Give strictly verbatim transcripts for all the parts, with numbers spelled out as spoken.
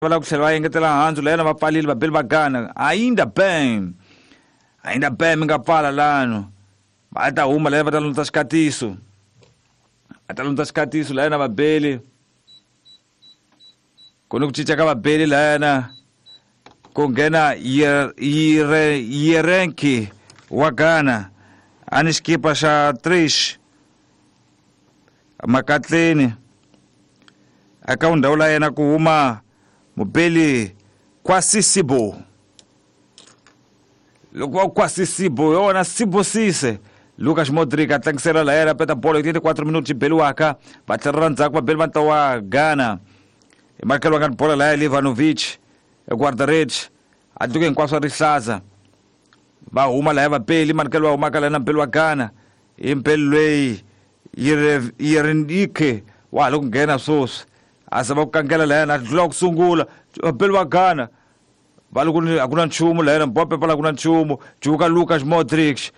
Va lava ku tlhela va engetela handzu la yena va pfalile vabeli va Ghana. Ainda bem, ainda bem mi nga pfala lano. Va ta huma la va ta landza xikatiso. Va ta landza xikatiso la yena vabeli. Ku ni ku cinca ka vabeli la yena ku nghena Yirenki wa Ghana a ni xikipa xa Trish Makatleni eka ndhawu la yena ku huma mubeli Kwasisibo. Loko va Kwasisibo yona Sibo Sise. Lucas Modric a tlangisela la yena peta bolo hi twenty-four minuti xi beliwaka va tlhelela ndzhaku vabeli va ntlawa wa Ghana. Hi makelo nga ni bola laya Livanovic guarda-redes a duke hinkwaswo rihlaza. Va huma laya vabeli manikelo va humaka laya na mbeli wa Ghana hi mbeli loyi Yerenike wa ha le ku nghena sweswi a zama ku kangela laya na dlula ku sungula vabeli wa Ghana va le ku a ku na nchumu laya na Mbappe la ku na nchumu juka Lucas Modric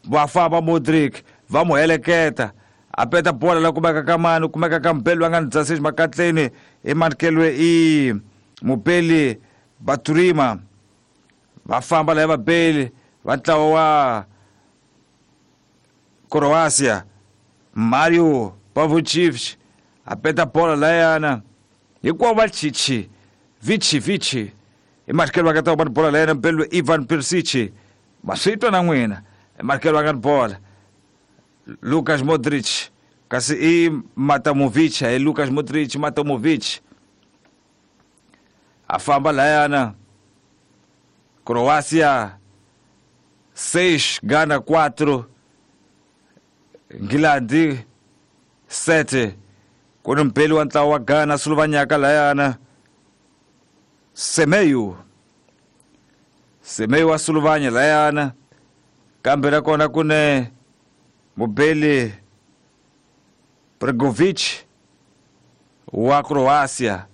va famba Modric va mu heleketa a peta bola la kumeka ka mani kumeka ka mbeli wa nga ni dzasisi makatleni i manikelwe i mubeli Baturima. Va famba laya vabeli va ntlawa wa Croatia Mario Pavlovich a peta bola layana hinkwavo va chichi vichi vichi i matikelo va nga ta va ni bola layana mbeli Ivan Perisic ma swi twa na n'wina i matikelo va nga ni bola Lucas Modric kasi i Matamovic hi Lucas Modric Matamovic a famba layana Croatia seis Ghana quatro Nghilandi sete. Ku ni mbeli wa ntlawa wa Ghana Slovanyaka layana Semeyu Semeyu wa Slovanya layana kambe nakona ku ne mubeli Bregovic wa Croatia.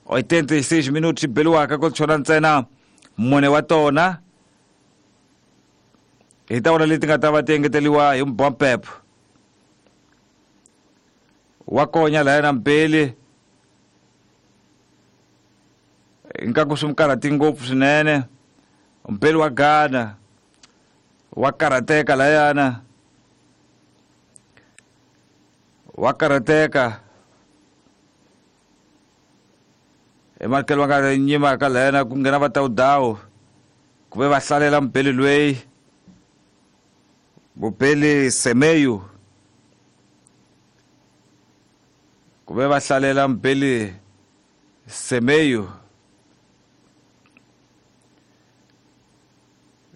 Oitenta e seis minutos beliwaka ku chona ntsena mune wa tona hi ta vona leti nga ta va ti engeteliwa hi Mbappe wa konya laya na mbeli ingaku swi mu karhati ngopfu swinene mbeli wa Ghana wa karhateka layana wa karhateka i manikelo va nga nyimaka layana ku nghena va tawudawu ku ve va hlalela mbeli loyi mubeli Semeyu ku ve va hlalela mbeli Semeyu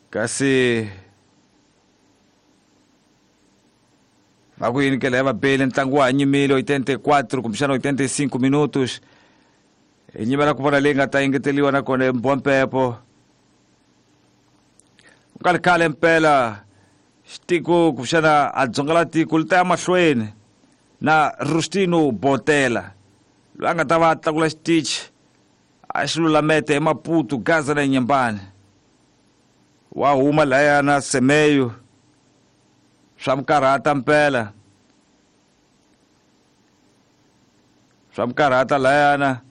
kasi va ku yini ke laya vabeli ntlangu wa ha nyimile oitenta e quatro kumbexana oitenta e cinco minutos hi nyimela ku vona leyi nga ta engeteliwa nakona hi Mbompepo ku nga ri khale mpela xitiko kumbexana a dzonga la tiko li ta ya mahlweni na Rustino Botela loyi a nga ta va a tlakula xitichi a xi lulamete hi Maputo Gaza na Nyembani wa huma layana Semeyu swa mu karhata mpela swa mu karhata layana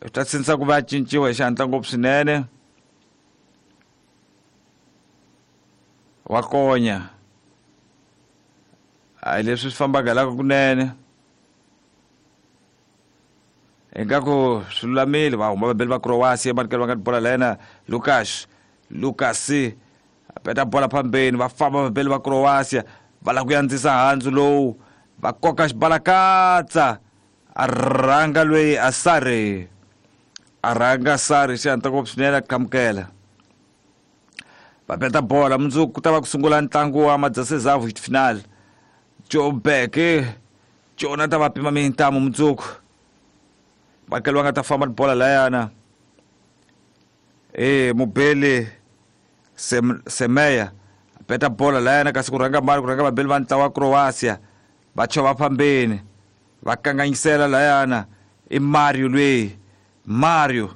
swi ta sindzisa ku va a cinciwa hi xihatla ngopfu swinene wa konya a hi leswi swi fambaka laka kunene ingaku swi lulamile va huma vabeli va Croatia manikelo va nga ni bola layena Lucas Lucas a peta bola phambeni va famba vabeli va Croatia va lava ku yandzisa handzu lowu va koka xibalakatsa a rhanga loyi a Sare a rhanga Sare xihatla ngopfu swinene a qhamukela va peta bola mundzuku ku ta va ku sungula ntlangu wa Madzasezavu final Joburg Jona ta va pima mintamu mundzuku makelo va nga ta famba ni bola layana e mubeli Sem, Semeya peta bola layana kasi ku rhanga mali ku rhanga vabeli va ntlawa wa Croatia va chova phambeni va kanganyisela layana i Mario loyi Mario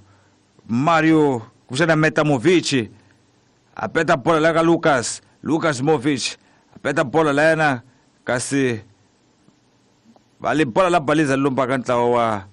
Mario kumbexana Metamovic a peta bola laya ka Lucas Lucas Movic a peta bola layana kasi va le bola la baliza lombaka ntlawa wa